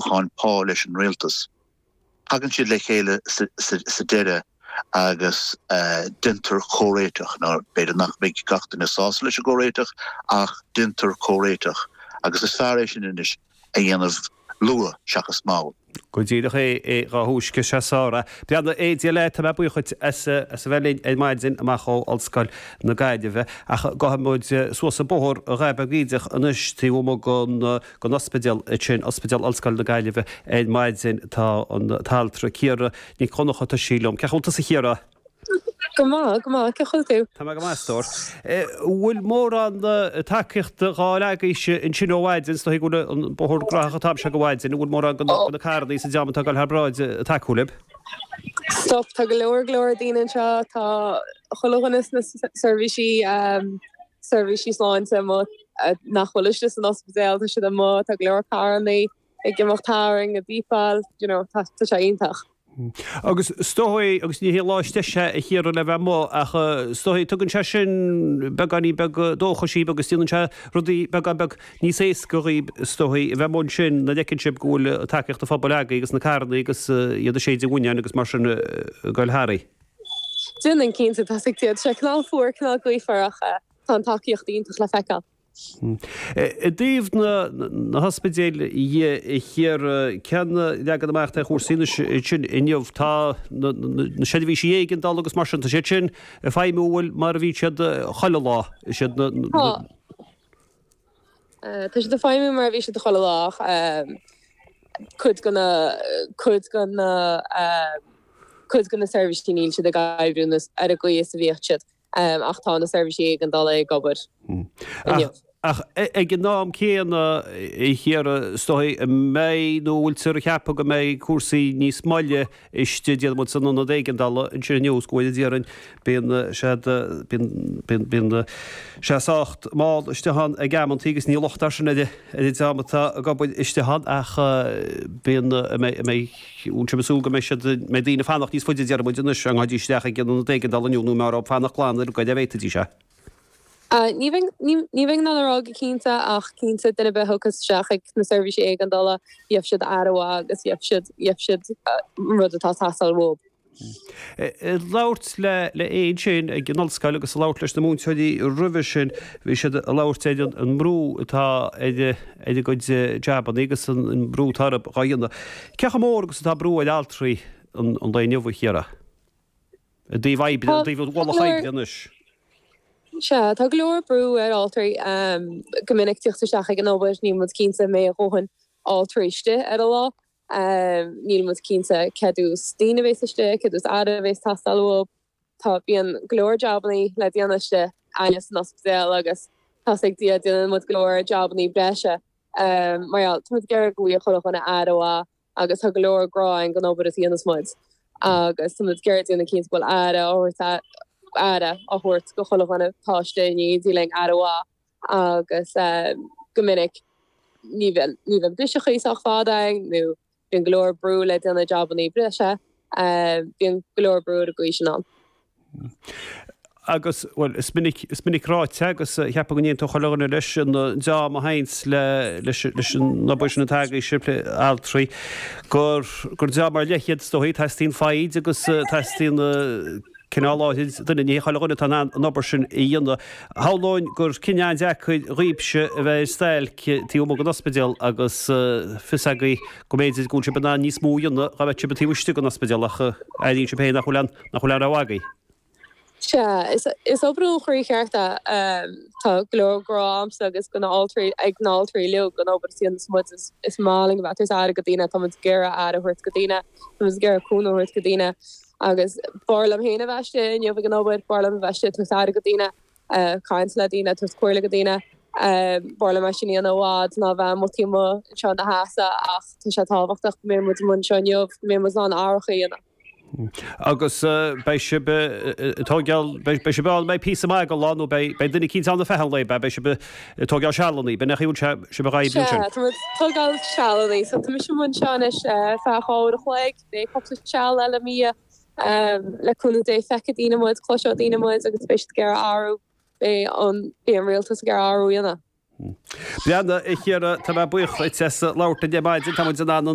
socrúcháin pá leis an rialtas. Tagann siad le chéile sa deireadh agus déantar comhréiteach. Now, b'fhéidir nach mbeidh gach duine sásta leis an gcomhréiteach ach déantar comhréiteach agus is fearr é sin anois a dhéanamh luath seachas mall. Go díreach é, dhá thúisce sé sár é. Breathnaigh, a Dia leat, tá mé buíoch dhuit as a bheith linn ar maidin amach ó Ollscoil na Gaillimhe. Ach gabhfaidh muid suas an bóthar a dhath beag bídeach anois taobh amuigh den den ospidéal sin, Ospidéal Ollscoil na Gaillimhe ar maidin. Tá an t-altra Ciara Nic Dhonncha, tá sí liom. Cén chaoi a bhfuil tusa a Chiara? Go maith, go maith. Cén chaoi a bhfuil tú? Tá mé go maith, a stór. Bhfuil mórán tacaíochta dhá fháil agaibhse ansin ó mhaidin? Is dóigh go bhfuil an bóthar graitheach an t-am seo de mhaidin. An bhfuil mórán de na carranna is an dream atá ag dul thar bráid ag tacú libh? Stop, tá go leor, go leor daoine anseo. Tá chuile dhuine sna seirbhísí, seirbhísí sláinte amuigh nach bhfuil istigh san ospidéal, tá siad amuigh, tá go leor carrannaí ag imeacht tharainn, ag bípeáil, you know, tá sé iontach. Agus is dóigh, agus ní hé lá is deise a Chiara le bheith amuigh, ach is dóigh, tugann sé sin beagáinín beag dóchais dhaoibh agus déanann sé rudaí beagán beag níos éasca dhaoibh, is dóigh, a bheith amuigh ansin nuair a fheiceann sibh go bhfuil tacaíocht an phobail agaibh agus na carrannaí agus iad ag séideadh buinneáin agus mar sin ag goil tharaibh. Déanann, cinnte, tá sé cineál fuar, cineál gaofar ach tá an tacaíocht iontach le feiceáil. I dtaobh na hospidéil dhe, a Chiara, cén leagan amach atá ar chúrsaí anois ansin inniu? Tá na seirbhísí éigeandála agus mar sin, tá siad sin ag feidhmiú bhfuil mar a bhíonn siad chuile lá? Is iad na. Tá. Tá siad ag feidhmiú mar a bhí siad chuile lá ach cuid de na, cuid de na, cuid de na seirbhísí níl siad ag oibriú ar an gcaoi is a bhíodh siad. Ach tá na seirbhísí éigeandála ag obair inniu. Ach ag an am céanna, a Chiara, is dóigh an mbeidh nó an bhfuiltear ag ceapadh go mbeidh cúrsaí níos moille istigh, déarfaidh muid, san ionad éigeandála ansin inniu is go bhfuil, déarfainn, bíonn siad, bíonn, bíonn, bíonn sé sách mall istigh ann ag amantaí agus ní locht é sin ar an dream atá ag obair istigh ann ach bíonn, an mbeidh, an mbeidh. Bhfuil sibh ag súil go mbeidh siad, mbeidh daoine ag fanacht níos faide, déarfaidh muid anois, dá ngabhfaidís isteach ag an ionad éigeandála inniu nó an mb'fhearr dóibh fanacht glan ar an gcuid a bhféadfaidís é. Ní bheinn, ní bheinn in ann a rá go cinnte ach cinnte duine ar bith a thiocfas isteach ag na seirbhísí éigeandála, gheobhaidh siad aire mhaith agus gheobhaidh siad, gheobhaidh siad an rud atá ag teastáil uathu. Ag labhairt le le Aodh ansin ag an ollscoil agus ag labhairt leis na múinteoirí roimhe sin, bhí siad ag labhairt ar an mbrú atá ar ar a gcuid jabannaí agus an brú atá orthu dhá dhéanamh. Cé chomh mór agus atá brú ar altraí an lae inniu, a Chiara? I dtaobh oibre, i dtaobh ualach oibre anois. Sea, tá go leor brú ar altraí. Go minic tíocht isteach ag an obair, níl muid cinnte an mbeidh a dhóthain altraí istigh ar an lá. Níl muid cinnte cé mhéad daoine a bhéas istigh, cé mhéad aire a bhéas teastáil uathu. Tá, bíonn go leor jabannaí le déanamh istigh againne san ospidéal agus tá's ag Dia déanann muid go leor jabannaí breise. Mar gheall, tá muid ag iarraidh go bhfaigheadh chuile dhuine aire mhaith agus tá go leor grá againn don obair a dhéanas muid agus tá muid ag iarraidh déanamh cinnte go bhfuil aire á thabhairt, aire á thabhairt go chuile dhuine atá istigh in éindí linn, aire mhaith. agus go minic ní bhíonn ní bhíonn briseachaí sách fada againn nó bíonn go leor brú le déanamh jabannaí breise, bíonn go leor brú ar an gcaoi sin ann. Agus, bhuel, is minic, is minic ráite agus cheapfainn go n-aontódh chuile dhuine leis, an dream a théanns le, leis, leis an obair sin atá agaibhse, altraí, gur, gur dream ar leith iad is dóigh, teastaíonn foighid agus teastaíonn, cineál áirid duine, ní hé chuile dhuine atá in ann an obair sin a dhéanamh. Shamhlóinn gur cinneadh an-deacair dhaoibhse a bheith ar stailc taobh amuigh den ospidéal agus fios agaibh go mb'fhéidir go bhfuil sibh in ann níos mó a dhéanamh dá mbeadh sibh taobh istigh den ospidéal ach airíonn sibh féin nach bhfuil aon, nach bhfuil aon rogha agaibh. Sea, is, is obair ó chroí cheart é. Tá go leor grá a'msa agus go na altraí, ag na altraí uilig don obair a dhéanas muid. Is, is maith linn a bheith ag tabhairt aire go daoine, tá muid ag iarraidh aire a thabhairt go daoine, tá muid ag iarraidh cúnamh a thabhairt go daoine. Agus b'fhearr liom féin a bheith istigh inniu ag an obair, b'fhearr liom a bheith istigh ag tabhairt aire go daoine, caint le daoine, tabhairt comhairle go daoine. B'fhearr liom é sin a dhéanamh i bhfad ná bheith amuigh taobh amuigh anseo ina sheasamh ach tá sé tábhachtach go mbeidh muid amuigh anseo inniu, go mbeidh muid in ann athrach a dhéanamh. Agus beidh sibh ag tógáil, beidh sibh ann, beidh píosa maith den lá nó beidh duine eicínt ann ar feadh an lae, beidh sibh ag tógáil sealannaí, b'in é an chaoi a bhfuil sibh ag oibriú ansin? Sea, tá muid ag tógáil sealannaí, so tá mise amuigh anseo anois ar feadh dhá uair a chloig. Beidh cúpla seal eile i mo dhiaidh. Le cúnamh Dé feicfidh daoine muid, cloisfidh daoine muid agus beidh siad ag iarraidh athrú, beidh an, beidh an rialtas ag iarraidh athrú a dhéanamh. Breathnaigh, a Chiara, tá mé buíoch dhuit as labhairt linn ar maidin, tá muid in ann an.